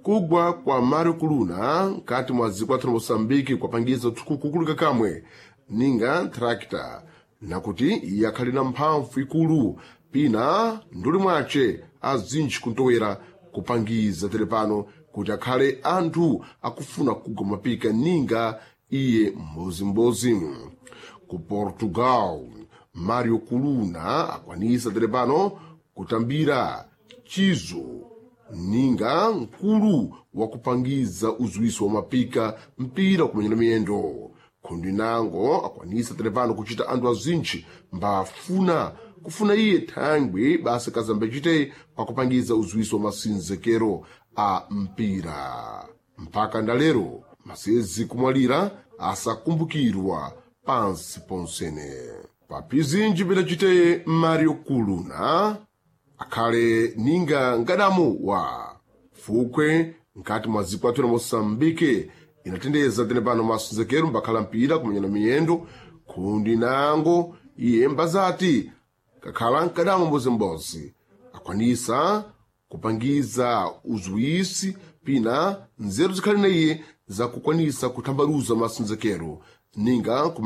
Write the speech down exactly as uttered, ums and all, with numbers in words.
Kugwa kwa Mario Kuluna nkati mwa dziko lathu la Moçambique kwapangiza kukulika kamwe ninga tractor, nakuti iye akhali na mphamvu ikulu pina nduli mwace azintchi kuntowera kupangiza telepano kuti akhale anthu akufuna kugwa mapika ninga iye mbozimbozi. Ku Portugal, Mario Kuluna akwanisa telepano kutambira chizo ninga mkulu wakupangiza uziwiso wa mapika mpira kumenyera miyendo. Khundi nango akwanisa telepano kuchita anthu azintchi mbafuna kufuna iye thangwi basi kazambe chite pakupangiza uziwiso wa masinzekero a mpira. Mpaka ndalero masezi kumwalira asakumbukirwa pansi ponsene. Papizinji pidachite Mario Kuluna akhale ninga ngadamu wa fukwe nkati mwa dziko lathu la Moçambique inatendeza tene pano masonzekero mbakhala mpira kumenyana miyendo. Khundi nango iye mbazati kakhala mkadamu mbozimbozi akwanisa kupangiza uziwisi pina nzeru zikhali na iye zakukwanisa kuthambaluza masonzekero ninga kuma